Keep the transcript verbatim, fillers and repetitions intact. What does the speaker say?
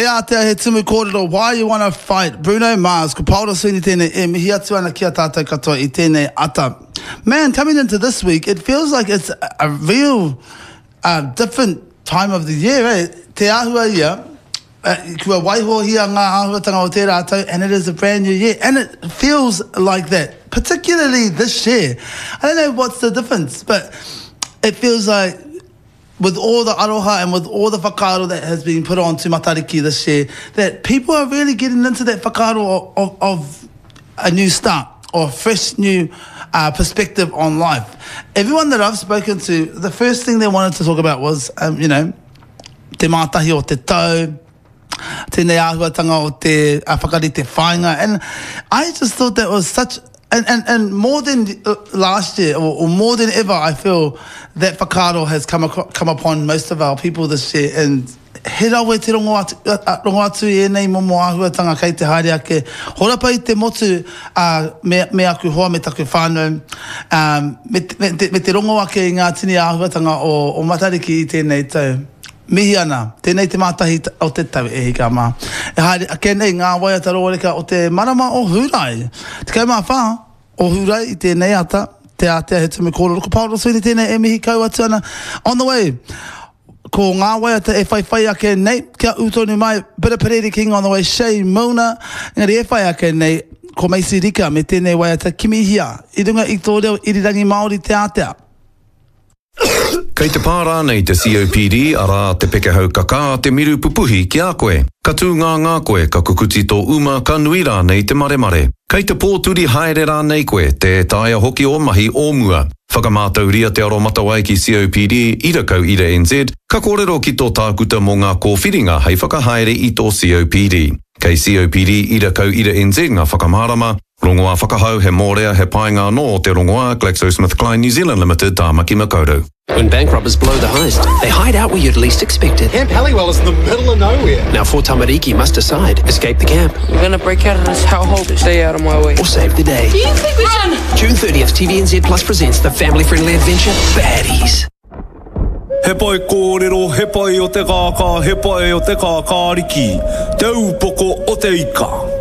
Te ātea he tumu kōrero, Why You Wanna Fight, Bruno Mars, ko Paora Sweeney tēnei e mihi atu ana ki a tātou katoa i tēnei ata. Man, coming into this week, it feels like it's a, a real uh, different time of the year, eh? Te āhua ia, uh, kua waihohia ngā āhuatanga o tērā tau, and it is a brand new year. And it feels like that, particularly this year. I don't know what's the difference, but it feels like with all the aroha and with all the whakaaro that has been put on to Matariki this year, that people are really getting into that whakaaro of, of, of a new start or a fresh new uh, perspective on life. Everyone that I've spoken to, the first thing they wanted to talk about was, um, you know, te mātahi o te tau, tēnei āhuatanga o te uh, whakarite whāinga. And I just thought that was such, and, and, and more than uh, last year, or, or more than ever, I feel that whakaaro has come, acro- come upon most of our people this year. And he rawe te rongo atu, uh, rongo atu i ēnei momo āhuatanga kei te haere ake. Horapa i te motu uh, me, me aku hoa, me taku whānau, um, me, te- me, te, me te rongo ake i ngā tini āhuatanga o, o Matariki i tēnei tau. Mihi ana, tēnei te mātahi o te tau e hika mā. E haere ake nei ngā waiata rōreka o te marama o Hūrae. Tekau mā whā o Hūrae i tēnei ata, te ātea he tumu kōrero. Ko Paora Sweeney tēnei e mihi kau atu ana. On the way, ko ngā waiata e whai whai ake nei, kia ū tonu mai, bit of Perere King on the way, Shay Mona, engari e whai ake nei, ko Macy Rika me tēnei waiata kimihia, i runga i tō reo irirangi Māori te ātea. Kei te pā rānei te C O P D, arā te pekehau kakā, te miru pupuhi ki a koe. Ka tū ngā ngā koe, ka kukuti tō uma, ka nui rānei te maremare. Kei te pōturi haere rānei koe, tē taea hoki o mahi o mua. Whakamātauria te aromatawai ki C O P D, ira kau ira N Z, ka kōrero ki tō tākuta mō ngā kōwhiringa hei whakahaere i tō C O P D. Kei C O P D ira kau ira N Z ngā whakamārama, rongoā whakahau he mōrea he painga anō te rongoā GlaxoSmithKline New Zealand Limited, Tāmaki Makaurau. When bank robbers blow the heist, they hide out where you'd least expect it. Camp Halliwell is in the middle of nowhere. Now four tamariki must decide: escape the camp We're gonna break out of this hellhole. Stay out of my way. Or save the day. Do you think we should? June thirtieth, T V N Z Plus presents the family-friendly adventure, Baddies. He pai kōrero, he pai o te kākā, he pai o te kākāriki. Te upoko o te ika.